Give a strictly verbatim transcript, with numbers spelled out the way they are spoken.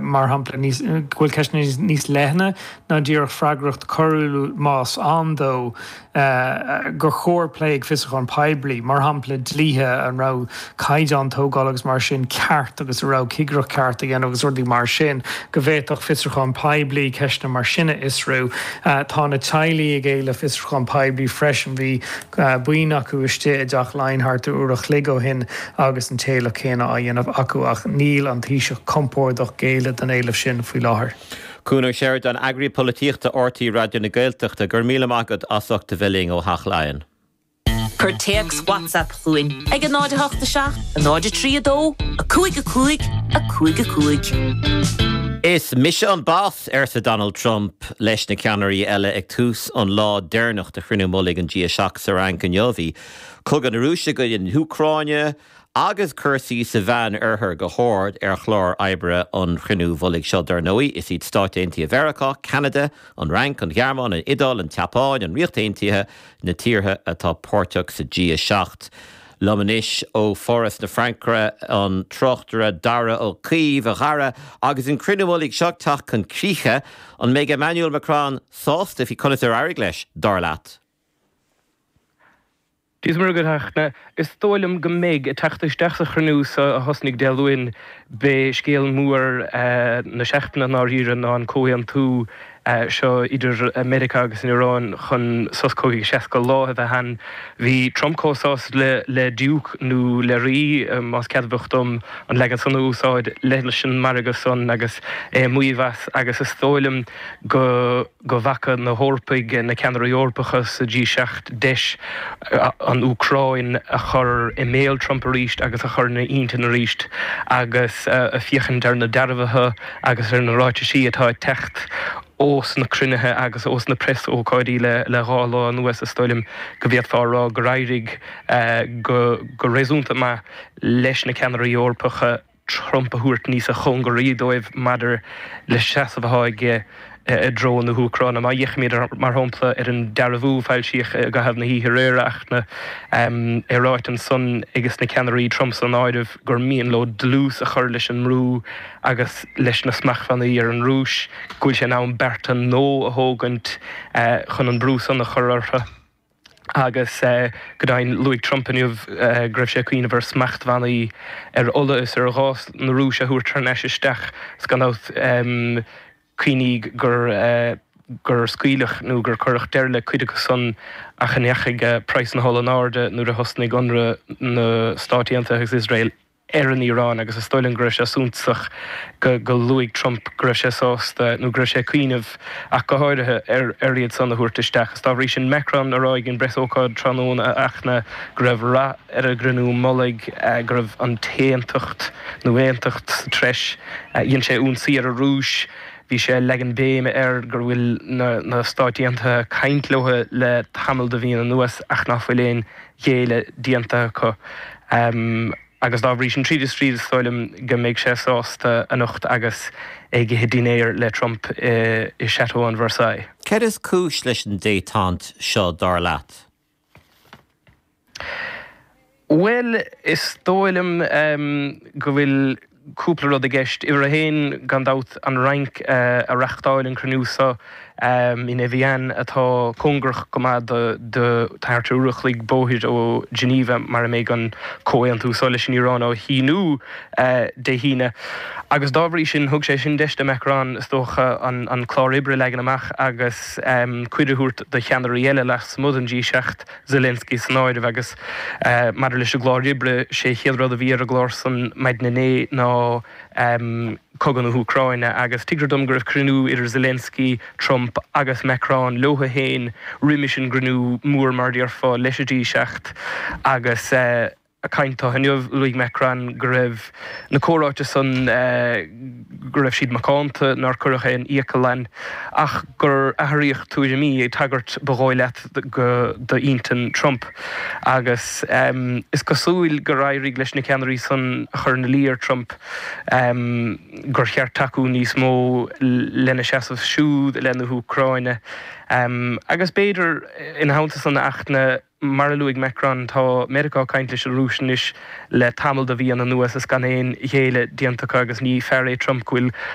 mar shampla go bhfuil ceisteanna níos leithne ná díreach freagracht choiriúil más ann dó gur chóir plé ag fiosrúchán poiblí, mar shampla dlíthe an raibh caighdeán tógála agus mar sin ceart agus a raibh cigireacht ceart a dhéanamh agus rudaí mar sin, go bhféadfadh fiosrúchán poiblí ceisteanna mar sin a fhiosrú. Tá na teaghlaigh ag éileamh fiosrúchán poiblí freisin, bhí buíon acu istigh i dTeach Laighean thart ar uair a chloig ó shin agus an t-éileamh céanna á dhéanamh acu ach níl an Taoiseach compordach géilleadh don éileamh sin faoi láthair. Cuan Ó Seireadáin, Eagraí Polaitíochta RTÉ Raidió na Gaeltachta, go raibh míle maith agat as ucht a bheith linn ó Theach Laighean. Cuir téacs WhatsApp chugainn ag a náid a hocht a seacht, a náid a trí a dó, a cúig a cúig, a cúig a cúig. Is mise an boss arsa Donald Trump leis na ceannairí eile ag tús an lá deireanach de chruinniú mullaigh an G a seacht sa Fhrainc inniu. Bhí cogadh na Rúise i gcoinne na hÚcráine agus cúrsaí sa Mheánoirthear go hard ar chlár oibre an chruinniú mhullaigh seo dar ndóigh. Is iad Stáit Aontaithe Mheiriceá, Ceanada, an Fhrainc, an Ghearmáin, an Iodáil, an tSeapáin, an Ríocht Aontaithe na tíortha atá páirteach sa G a seacht. Liom anois ó Pháras na Fraince an tráchtaire Dara Ó Caoimh a Dhara agus an cruinniú mullaigh seo ag teacht chun críche an mbeidh Emmanuel Macron sásta faoi conas ar éirigh leis dar leat. Dia is Muire dhuit a Fhachtna, is dóigh liom go mbeidh. Ag teacht isteach sa chruinniú seo a thosnaigh Dé Luain, b'é scéal mór na seachtaine i ndáiríre ná an comhaontú seo idir Meiriceá agus an Iaráin chun sos cogaidh seasca lá a bheith ann. Bhí Trump chomh sásta le le Diúc nó le Rí, más ceadmhach dom an leagan san a úsáid, leis an margadh san agus é ag maíomh as agus is dóigh liom go go bhfaca na hEorpaigh, na ceannairí Eorpacha sa G seacht, deis an Úcráin a chur i mbéal Trump arís agus a chur ina intinn arís agus féachaint ar na dearbhuithe agus ar na ráitisí atá ag teacht ós na cruinnithe agus ós na preasócáidí le dhá lá anuas, is dóigh liom go bhféadfá a rá gur éirigh go réasúnta maith leis na ceannairí Eorpacha. Trump a thabhairt níosa chóngaraí dóibh maidir le seasamh atá aige i dtreo na hÚcráine. Má fhéachaimid, mar shampla, ar an dearbhú a foilsíodh i gcaitheamh na hoíche aréir, a Fhachtna, é ráite ansan ages na ceannairí, Trump san áireamh, gur mian leo dlús a chur leis an mbrú agus leis na smachtbhannaí ar an Rúis, go bhfuil sé in am bearta nua a thógaint chun an brú san a chur orthu. Agus go deimhin, luaigh Trump inniu go raibh sé ag cuimhneamh ar smachtbhannaí ar ola is ar ghás na Rúise a thabhairt thar n-ais isteach is gan dabht cuimhnigh gur gur scaoileadh nó gur cuireadh deireadh le cuid acu san ach a ndeachaigh praghas na hola in airde nuair a thosnaigh ionradh na Stáit Aontaithe agus Iosrael ar an Iaráin agus is dóigh liom go raibh sé suntasach go go luaigh Trump go raibh sé sásta, nó go raibh sé ag cuimhneamh ach go háirithe, ar ar iad san a thabhairt isteach. Is dá bhrí sin Macron a rá ag an bpreasócáid tráthnóna a Fhachtna go raibh rath ar an gcruinniú mullaigh, go raibh an t-aontacht nó aontacht sa treis. Dhein sé ionsaí ar an Rúis, bhí sé ag leagan béime air gur bhfuil na na Stáit Aontaithe ag caint leo le tamall de mhíonna anuas ach ná fuil aon ghéilleadh déanta acu. Agus dá bhrí sin, tríd is tríd, is dóigh liom go mbeidh sé sásta anocht agus é ag ithe dinnéir le Trump i Chateau an Versailles. Céard is cúis leis an détente seo, dar leat? Bhuel, is dóigh liom go bhfuil cúpla rud i gceist. Uimhir a haon, gan dabht, an Fhrainc a reachtáil an cruinniú seo in Evian atá cóngarach go maith do do thart ar uair a chloig bóthair ó Geneva mar a mbeidh an comhaontú seo leis an Iaráin á shíniú Dé hAoine. Agus dá bhrí sin, thug sé sin deis do Macron, is dócha, an clár oibre a leagan amach agus cuireadh a thabhairt do cheannairí eile lasmuigh den G seacht, Zelensky san áireamh. Agus maidir leis an gclár oibre, sé an chéad rud a bhí ar an gclár san maidin inné ná cogadh na hÚcráine agus tuigtear dom go raibh cruinniú idir Zelensky, Trump agus Macron leo féin roimis an gcruinniú mór mar a déarfá leis an G seacht agus ag caint dó inniu luaigh Macron go raibh na comhráite san go raibh siad macánta, nár cuireadh aon fhiacail ann ach gur athraíodh tuairimí ag tagairt ba dhóigh leat go d'intinn Trump agus is cosúil gur éirigh leis na ceannairí san a chur ina luí ar Trump gur cheart tacú níos mó lena seasamh siúd i leith na hÚcráine. Agus b'fhéidir ina theannta san ach na mar a luaigh Macron tá Meiriceá ag caint leis an Rúis anois le tamall de mhíonna anuas is gan aon ghéilleadh déanta acu agus ní fear é Trump go bhfuil